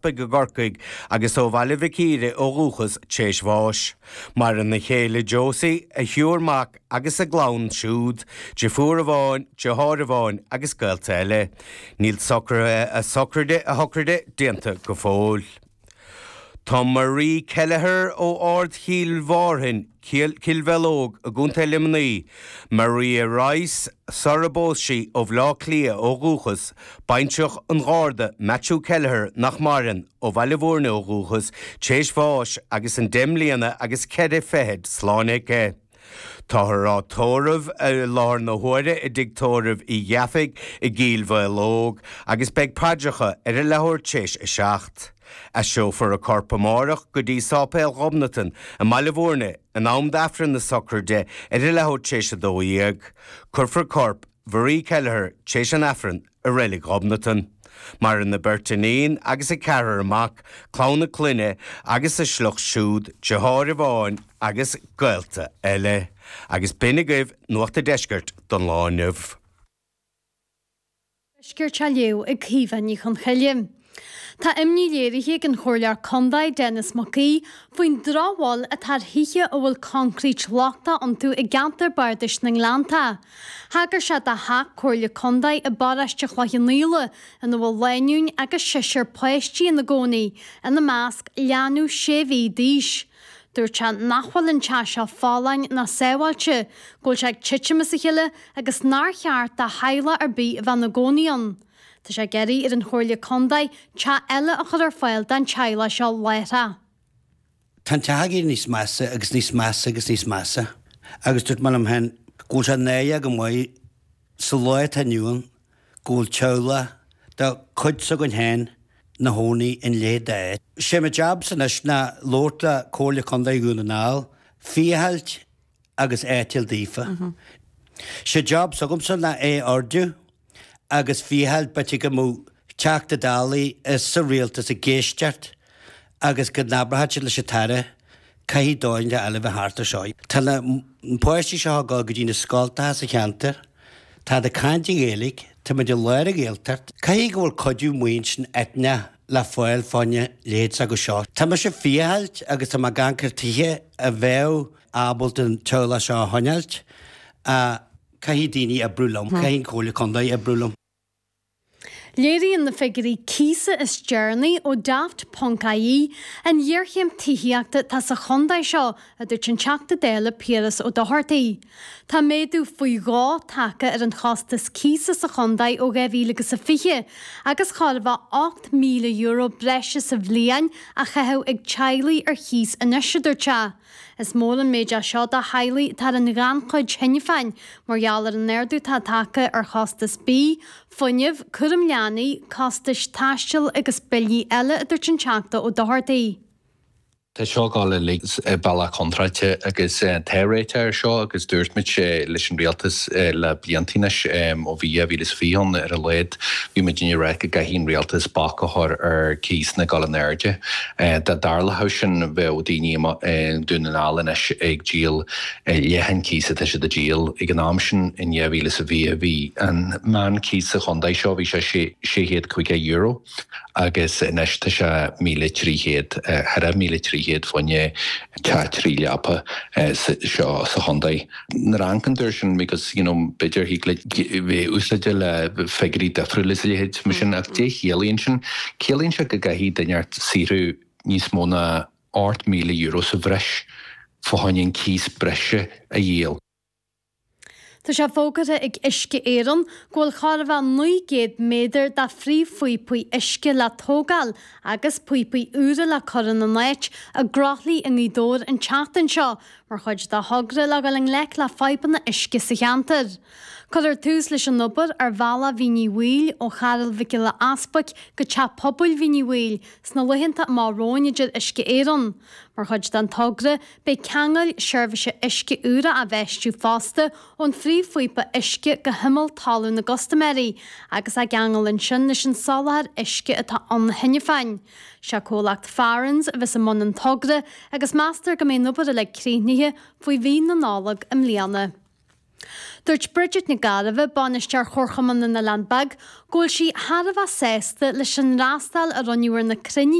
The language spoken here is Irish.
I gCorcaigh agus ó Bhaile Mhic Íre ó dhúchas t'éis bháis. Maireann a chéile Josie, a thriúr mac agus a gclann siúd, deirfiúr amháin, deartháir amháin agus gaolta eile. Níl socruithe a socraide a shocraide déanta go fóill. Tá Marie Kelleher ó Ard Chill Mhárthain, Cill Mhealóg i gContae Luimnigh, Maria Rice, sara bpós sí, ó Bhleá Cliath ó dhúchas, baintreach an Gharda Matthew Kelleher nach maireann, ó Bhaile Bhúirne ó dhúchas, t'éis bháis agus an deich mbliana agus cheithre fichid slánaithe aici. Táthar á tórramh i láthair na huaire i dtigh tórraimh Uí Dhufaigh i gCill Mhaológ agus beidh paidreacha ar a leathuair t'éis 7. Aistreofar a corp amárach go dtí Sáipéal Ghobnatan i mBaile Bhúirne in am d'Aifreann na socraide ar a leathuair t'éis 12. Cuirfear corp Mharie Kelleher t'éis an Aifrinn i Reilig Ghobnatan. Maireann a beirt iníon agus a ceathrar mac, clann a clainne agus a sliocht siúd, deartháir amháin agus gaolta eile. Agus b'in agaibh Nuacht a' Deiscirt don lá inniu. Deiscirt á léamh ag Caoimhe Ní Chonchoille. Tá imní léirithe ag an Chomhairleoir Contae Denis Mac Aoidh faoin drochbhail atá ar thithe a bhfuil coincréit lochtach iontu i gceantar bardais na nGleanntach. Thagair sé do theach Comhairle Contae i bparóiste Chloich Cheann Fhaola ina bhfuil lánúin agus seisear páistí ina gcónaí, ina measc leanbh sé mhí d'aois. Dúirt sé nach bhfuil an teach seo folláin ná sábháilte, go bhfuil sé ag titim as a chéile agus nár cheart do theaghlach ar bith a bheith ina gcónaí ann. Tá sé ag iarraidh ar an Chomhairle Contae teach eile a chur ar fáil don teaghlach seo láithreach. Tá an teach ag éirí níos measa agus níos measa agus níos measa agus dúirt mé liom féin go bhfuil sé náireach go maith sa lá atá inniu ann go bhfuil teaghlach de chuid s'againn féin 'na chónaí in a leithéid d'áit. Sé mo jab-sa anois ná labhairt le Comhairle Contae Dhún na nGall, féachaint agus áit a fháil daofa. Sé job s'agamsa ná é a ardú agus féachaint b'fhéidir go mbeadh Teachta Dálaí is sa rialtas ag éisteacht agus go n-abródh siad leis an tAire caithfidh dóigh eile a bheith thart ar seo. Tá na páistí seo ag dul go dtí na scoltacha sa cheantar, táid ag caint i nGaeilge, táimid i lár an Ghaeltacht. Caithfidh go bhfuil cuidiú maoin eitneach le fáil fá choinne leithéid s'acu seo. Tá mise ag féachaint agus tá mé ag amharc ar tithe a bheadh ábalta an teaghlach seo a choinneáilt ach caithfidh daoine oibriú liom, caithfidh an Chomhairle Contae oibriú liom. Léiríonn na figiúirí cíosa is deireanaí ó Daft ponc ie an ghéarchéim tithíochta atá sa chontae seo, a dúirt an Teachta Dála Piaras Ó Dochartaigh. Tá méadú faoi dhó tagtha ar an chostas cíosa sa chontae ó 2020 agus chóir a bheith €8,000 breise sa bhliain á chaitheamh ag teaghlaigh ar chíos anois, a dúirt sé. Is mór an méid é seo do theaghlaigh atá ar an ghannchuid cheana féin mar gheall ar an ardú atá tagtha ar chostas bídh, fuinnimh, cúram leanaí, costais taistil agus billí eile, a dúirt an Teachta Ó Dochartaigh. Tá seo ag dul uilig bealach contráilte agus tá réiteach air seo agus dúirt muid leis an rialtas le blianta anois, ó bhí 2020 ann ar a laghad, bhí muidinne ag rá go gcaithfidh an rialtas bac a chur ar cíosanna ag dul in airde. Dá dtarlódh sin bheadh daoine i nDún na nGall anois ag díol leath an cíos atá siad ag díol. Ag an am sin in 2020 bhí an meán cíos sa chontae seo bhí sé €650 agus anois tá sé 1,300, thar 1,300 fá choinne teach 3 leapa seo sa chontae. Nuair a amharcann tú air sin because you know b'fhéidir thig leat bheith úsáideach le figiúirí difriúla is a leithéid mar sin ach cad é chiallaíonn sin? Ciallaíonn sé go gcaithfidh duine inteacht saothrú níos mó ná €8,000 sa bhreis fá choinne an cíos breise a dhíol. Tá sé fógartha ag Uisce Éireann go bhfuil chóir a bheith 900 méadar de phríomhphíopaí uisce le tógáil agus píopaí úra le cur ina n-áit i gCroithlí i nGaoth Dobhair an tseachtain seo mar chuid de thogra le dhul i ngleic le fadhbanna uisce sa cheantar. Cuirfear tús leis an obair ar bhealach Mhín Uí Bhaoill ó Charraig Mhic Giolla Easbuic go Teach Pobail Mhín Uí Bhaoill sna laethanta amach romhainn, a deir Uisce Éireann. Mar chuid den togra, beidh ceangail seirbhíse uisce úra á bhfeistiú fosta ón phríomhphíopa uisce go himeall talún na gcustaiméirí agus á gceangal ansin leis an soláthar uisce atá ann cheana féin. Sé comhlacht Farrans a bheas i mbun an togra agus meastar go mbeidh an obair uilig críochnaithe faoi mhí na Nollag i mbliana. Dúirt Bridget Nic Gairbheith, Bainisteoir Chomharchumann na nOileán Beag, go bhfuil sí thar a bheith sásta leis an fhreastal a rinneadh ar na cruinnithe.